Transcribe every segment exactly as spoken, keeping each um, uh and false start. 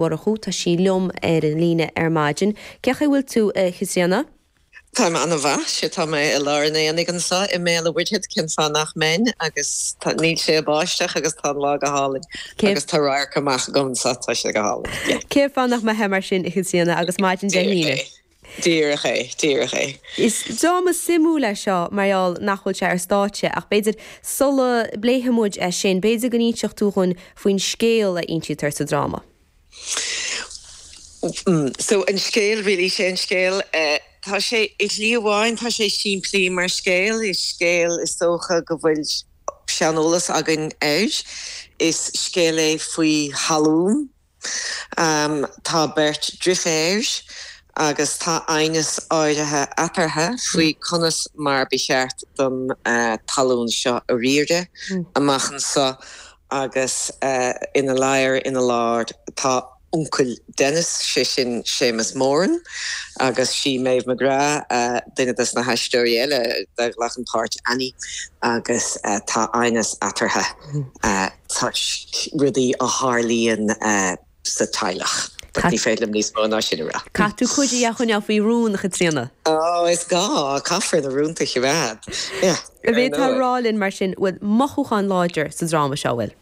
Mhurchú tá sí liom ar an líne ar maidin. Cén chaoi a bhfuil tú a Chaitríona? Tá an-mhaith sé tá mé i lár an aonaigh anseo i mBéal an Mhuirthead cén fáth nach mbeinn agus níl sé ag báisteach agus tá an lá go hálainn agus tá radharc amach agam anseo tá sé go hálainn. Cén fáth nach mbeifeá mar sin a Chaitríona agus maidin Dé hAoine. Díreach é, díreach é. Is dráma suimiúil é seo mar gheall nach bhfuil sé ar stáitse ach b'fhéidir sula bpléifidh muid é sin, b'fhéidir go n-inseodh tú dhúinn faoin scéal a insítear sa dráma. Mm, so an scéal really sé an scéal uh, tá sé i slí amháin tá sé simplí mar scéal is scéal is dócha go bhfuil seaneolas againn air is scéal é faoi thalamh um, tá beirt deirféar agus tá aighneas áirithe eatarthu faoi conas mar ba cheart don uh, talamh seo a riaradh mm. amach anseo agus uh, ina lár ina lár tá uncail Dennis sé sin Séamus Moran agus sí Maeve McGrath uh, duine des na haisteoirí eile a ghlacann páirt Annie agus uh, tá aighneas eatarthu uh, toisc rudaí a tharlaíonn uh, sa teaghlach. Ní féidir liom níos mó ná sin a rá. Caithfidh tú cuid a choinneáil faoi rún a Chaitríona. Ó is gá caithfear na rúnta a choimeád. A bheith tá rálinn mar sin bhfuil mothúchán láidir sa dráma seo bhfuil.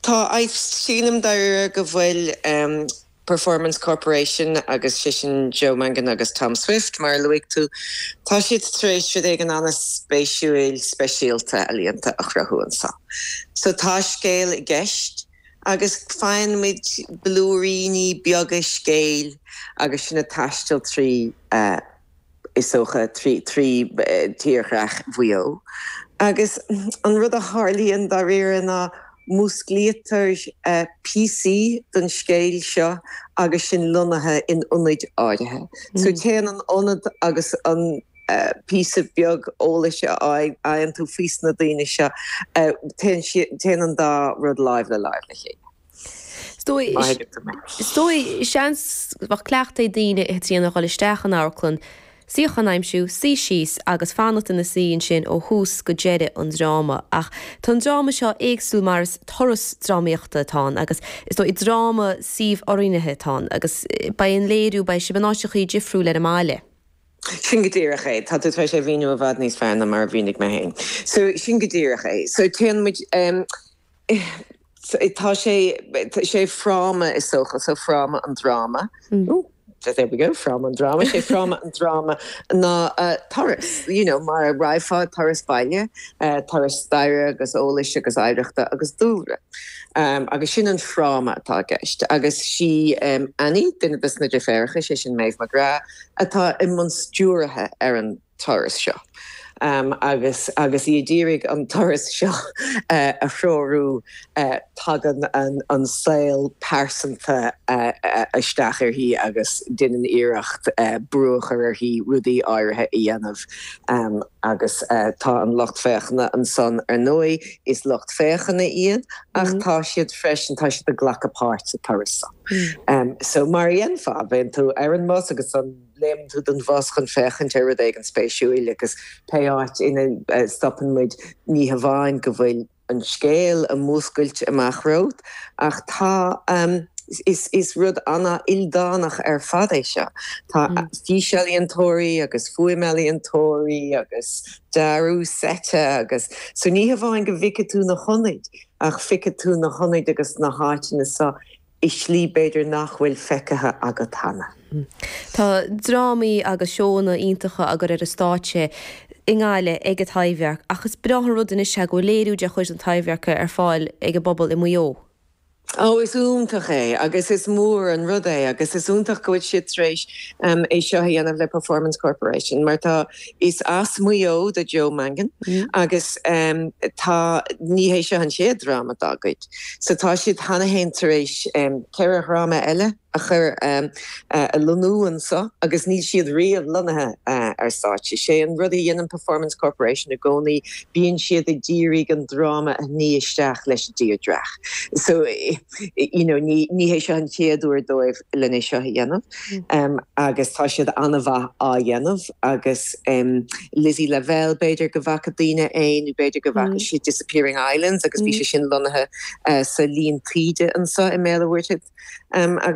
Tá sílim dar go bhfuil um, Performance Corporation agus sé sin Joe Mangan agus Tom Swift mar luaigh tú Tá siad tar éis rud éigin an-spéisiúil speisialta ealaíonta a chruthú anseo. So tá scéal i gceist agus faigheann muid blúiríní beaga scéil agus sin ag taisteal trí uh, is dócha trí trí uh, tírdhreach Mhaigh Eo. Agus an rud a tharlaíonn dáiríre ná músclaítear uh, píosaí den scéal seo agus sin lonnaithe in ionaid áirithe. Mm. So téann an ionad agus an uh, píosa beag eolais a fhaigheann tú faoi na daoine seo uh, téann an dá rud láimh le láimh le chéile. Stoi seans bheadh cleachtadh ag daoine a Chaitríona dhul isteach an amharclann, suíochán a aimsiú suí síos agus fanacht ina suí ansin ó thús go deireadh an dráma ach tá an dráma seo éagsúil mar is turas drámaíochta atá ann agus is dóigh dráma suíomh-oiriúnaithe atá ann agus beidh an léiriú beidh sibh in áiteacha difriúla ar an mbaile. Sin go díreach é tá tú tar éis é a mhíniú i bhfad níos fearr ná mar a mhínigh mé féin. So sin go díreach é. So téann muid um, tá sé sé fráma is dócha so fráma an dráma. Mm. there we go fráma an dráma sé fráma an dráma ná uh, turas you know mar a rachfá turas baile uh, turas staire agus eolais agus oidhreachta agus dúlra. Um, agus sin an fráma atá i gceist agus sí um, Annie duine des na deirfiúracha sé sin Maeve McGrath atá i mbun stiúrtha ar an turas seo. Um, agus agus í ag iarraidh an turas seo uh, a threorú uh, tagann an, an saol pearsanta uh, uh, isteach uirthi agus déanann iarracht uh, brú a chur uirthi rudaí áirithe a dhéanamh um, agus uh, tá an lucht féachana ansan ar ndóigh is lucht féachana iad ach mm. tá siad freisin tá siad ag glacadh páirt sa turas. Mm. Um, so mar a dhéanfá bheinn tú ar an mbus agus an léim tú den bhus chun féachaint ar rud éigin spéisiúil agus pé áit ina uh, stopann muid ní hamháin go bhfuil an scéal ag múscailt amach romhat ach tá um, is, is rud an-ildánach ar fad é seo. Tá mm. físealaíontóirí agus fuaimealaíontóirí agus dearadh seite agus so ní hamháin go bhfeicfidh tú na hionaid ach feicfidh tú na hionaid agus na háiteanna seo i slí b'fhéidir nach bhfuil feicthe agat cheana. Tá drámaí agus seónna iontacha á gcur ar an stáitse i nGaillimh ag an Taibhdhearc ach is breá an rud anois go bhfuil léiriú de chuid an Taibhdhearc ar fáil ag an bpobal i Maigh Eo. Ó is iontach é agus is mór an rud é agus is iontach go bhfuil siad tar éis um, é seo a dhéanamh le Performance Corporation mar tá is as Maigh Eo do Joe Mangan mm. agus um, tá ní hé seo an chéad dráma dá gcuid. So tá siad cheana féin tar éis um, ceithre dhráma eile a chur um, uh, a lonnú anseo agus níl siad riamh lonnaithe uh, ar stáitse. sé an rud a dhéanann Performance Corporation i gcónaí bíonn siad ag iarraidh an dráma a ní isteach leis an tírdhreach. So you know, ní ní hé seo an chéad uair dóibh lena seo a dhéanamh um, agus tá siad an-mhaith á dhéanamh agus um, Lizzie Lavelle b'fhéidir go bhfaca daoine é nó b'fhéidir go bhfaca mm. siad Disappearing Islands agus bhí mm. sé sin lonnaithe uh, sa líon taoide anseo i mBéal an Mhuirthead um, agus